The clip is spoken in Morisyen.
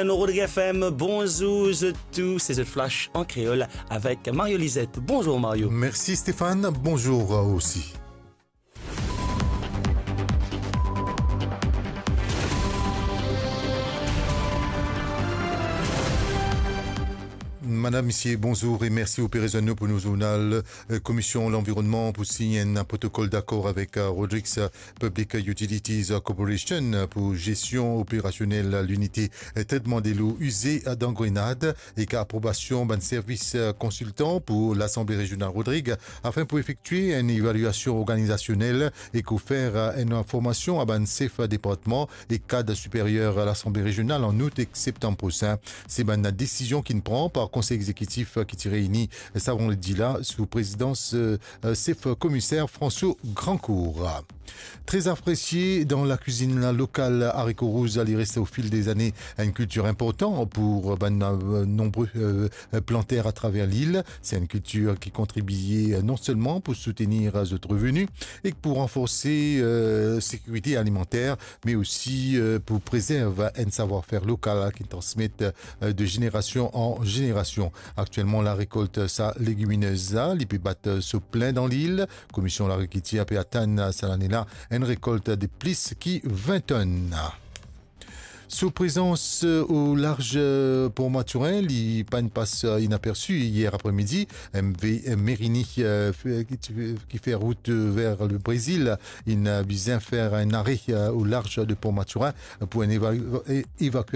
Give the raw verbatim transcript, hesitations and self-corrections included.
Rodrigue F M, bonzour zot tou, se zot Flash an kreol avek Mario Lizette. Bonzour Mario. Mersi Stéphane, bonzour osi. Madam, misie, bonzour e mersi ou pe rezwenn nou pou nou zournal. Eh, Komision Lanvironnman pou sign enn protokol dakor avek, eh, Rodrigues Public Utilities Corporation pou gestion operasionel linite tretman delo ize dan Grenad, ek aprobasion bann servis konsiltan pou Lasanble Rezional Rodrig, afin pou efektwe enn evaliasion organizasionel ek ofer enn formasion a bann sef departman ek kad siperyer Lasanble Rezional an out ek septam prosin. Se bann desizion ki'nn pran par Konsey Egzekitif ki ti reyini sa vandredi la sou prezidans, eh, sef komiser François Grancourt. Tre apresie dan lakwizinn lokal, lariko rouz, li res o fil dezane enn kiltir inportan pou bann, eh, nonbre, eh, planter atraver lil. Se enn kiltir ki kontribie, eh, non selman pou soutenir, eh, zot reveni, ek pou ranforse, eh, sekirite alimanter, me osi, eh, pou prezerv enn savwar-fer lokal ki transmet, eh, de zenerasion an zenerasion. Aktielman, larekolt sa legiminez la, li pe bat, eh, so plin dan lil. Komision Lagrikitir pe atann sa lane la enn rekolt de plis ki vin tonn. So prezans, eh, o larz, eh, Port Mathurin, li pa'nn pas, eh, inapersi yer apremidi. M V Merini, eh, fe-, ki ti, ki fer rout, eh, ver le Brezil, inn, eh, bizin fer enn are, eh, o larz de Port Mathurin pou enn eva-, e-, evakue